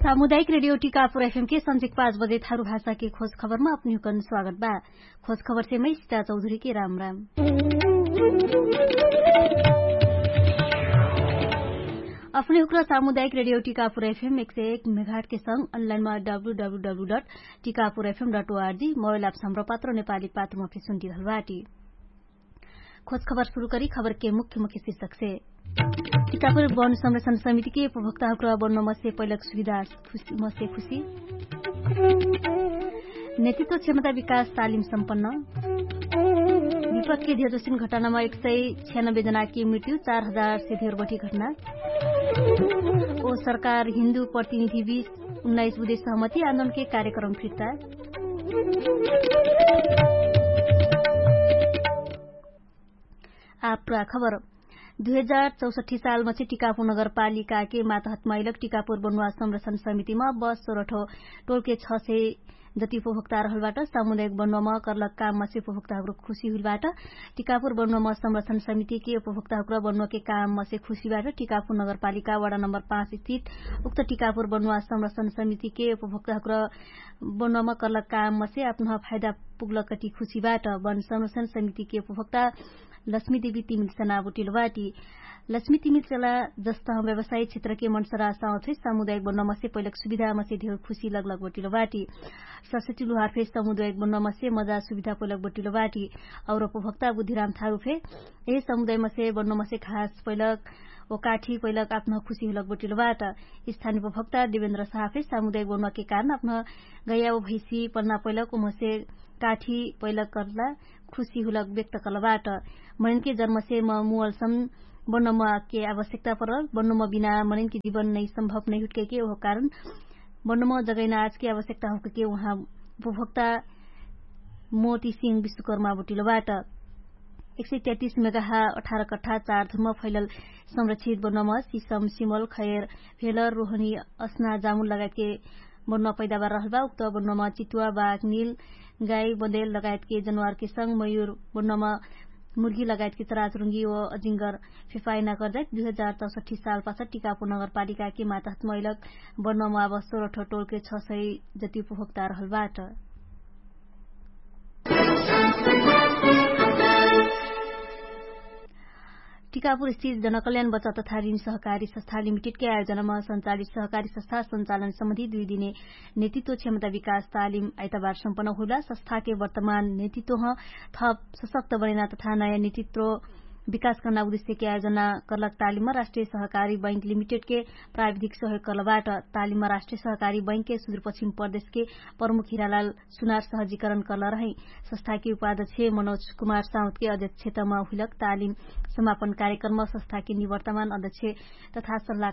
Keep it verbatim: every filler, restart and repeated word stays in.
सामुदायिक रेडियो टिकापुर एफएम के सन्झिक पाँच बजे थारु भाषा के खोज खबरमा अपनिहुकन स्वागत बा। खोज खबर से मै सिता चौधरी के राम राम। अपने हुक्रा सामुदायिक रेडियो टिकापुर एफएम एक सय एक मेघाट के संग अनलाइनमा W W W dot Tikapur FM dot ORG mobile app सम्र पात्र नेपाली पात्रमा फेसुन्टी रहलबाटी। खोज खबर सुरु करी खबर के मुख्य मुख्य शीर्षक से। टिकापुर वन संरक्षण समिति के उपभोक्ता हुक्रा बन्नमा से पैलक सुविधा मसे खुसी। नेतृत्व क्षमता विकास तालिम सम्पन्न। विपक्ष के धियोजोसिन घटनामा एक सय छ्यानब्बे जनाकी मृत्यु चार हजार से धेर बठी घटना। ओ सरकार हिन्दु प्रतिनिधि बीच उन्नाइस बुधे सहमति आन्दोलन के कार्यक्रम फिर्ता। आप्रा खबर। दुई हजार चौसठी सालमा चाहिँ टिकापुर नगरपालिकाके मातहत मैलक टिकापुर बनुवा संरक्षण समितिमा बस सोरठो टोलके छ सय जति उपभोक्ता रहलबाट सामुदायिक बनुवामा कर्लक काममा चाहिँ उपभोक्ताहुक्र खुसी हुलबाट। टिकापुर बनुवामा संरक्षण समितिके उपभोक्ताहुक्र बनुवाके काममा चाहिँ खुसीबाट टिकापुर नगरपालिका वडा नम्बर पाँच स्थित उक्त टिकापुर बनुवा संरक्षण समितिके उपभोक्ताहुक्र बनुवामा कर्लक काममा चाहिँ आप्नह फाइदा पुग्लकटी खुसीबाट वन संरक्षण समितिके उपभोक्ता लक्ष्मी देवी तिमिल सना बोटिलो बाटी। लक्ष्मी तिमिल चला जस्त हम व्यवसायी क्षेत्रके मनसरा साउथे सामुदायिक बन्नमसे पैलक सुविधामसे धेर खुसी लगलग बोटिलो बाटी। सरस्वती लुहार फे सामुदायिक बन्नमसे मजा सुविधा पैलक बोटिलो बाटी। और उपभोक्ता बुद्धिराम थारु फे यही सामुदायमसे बन्नमसे खास पैलक ओ काठी पैलक आप्न खुसी हुलक बोटिलो बाट। स्थानी उपभोक्ता देवेन्द्र साहफे सामुदायिक बन्नके कारण आप्न गैया ओ भैसी पन्ना पैलक उमसे काठी पैलक कर्ला खुसी हुलक व्यक्त कर्ला बाट। मनैनके जन्मसे म मुअलसम बन्नमके आवश्यकता परल बन्नम बिना मनैनके जीवन नै सम्भव नै हुट्कैके ओहो कारण बन्नम जगैना आजके आवश्यकता होकैके उहाँ उपभोक्ता मोती सिंह विश्वकर्मा बोटिलो बाट। एक सय तैतिस मेगाहा अठार कठा चार धुर्म फैलल संरक्षित बन्नम सिसम सिमल खैर भेलर रोहनी असना जामुन लगायतके बन्नुवा पैदावार रहलबा उक्त बन्नुवामा चितुवा बाघ निल गाई बन्देल लगायतके जनुवारके संग मयुर बन्नुवामा मुर्गी लगायतके चराचुरुङ्गी ओ अजिङ्गर फेफाइना कर्जाइत दुई हजार चौसठी साल पाछा टिकापुर नगरपालिकाके मातहत मैलक बन्नुवामा अब सोरठो टोलके छ सय जति उपभोक्ता रहलबाट। टिकापुर स्थित जनकल्याण बच्चा तथा ऋण सहकारी संस्था लिमिटेडके आयोजनामा सञ्चालित सहकारी संस्था सञ्चालन सम्बन्धी दुई दिने नेतृत्व क्षमता विकास तालिम आइतबार सम्पन्न हुइला। संस्थाके वर्तमान नेतृत्वह थप सशक्त बनैना तथा नयाँ नेतृत्व विकास कर्ना उद्देश्यके आयोजना कर्लक तालिममा राष्ट्रिय सहकारी बैंक लिमिटेडके प्राविधिक सहयोग कर्लबाट। तालिममा राष्ट्रिय सहकारी बैंकके सुदूरपश्चिम प्रदेशके प्रमुख हिरालाल सुनार सहजीकरण कर्ल रहै। संस्थाके उपाध्यक्ष मनोज कुमार साउतके अध्यक्षतमा हुइलक तालिम समापन कार्यक्रममा संस्थाके निवर्तमान अध्यक्ष तथा सल्लाह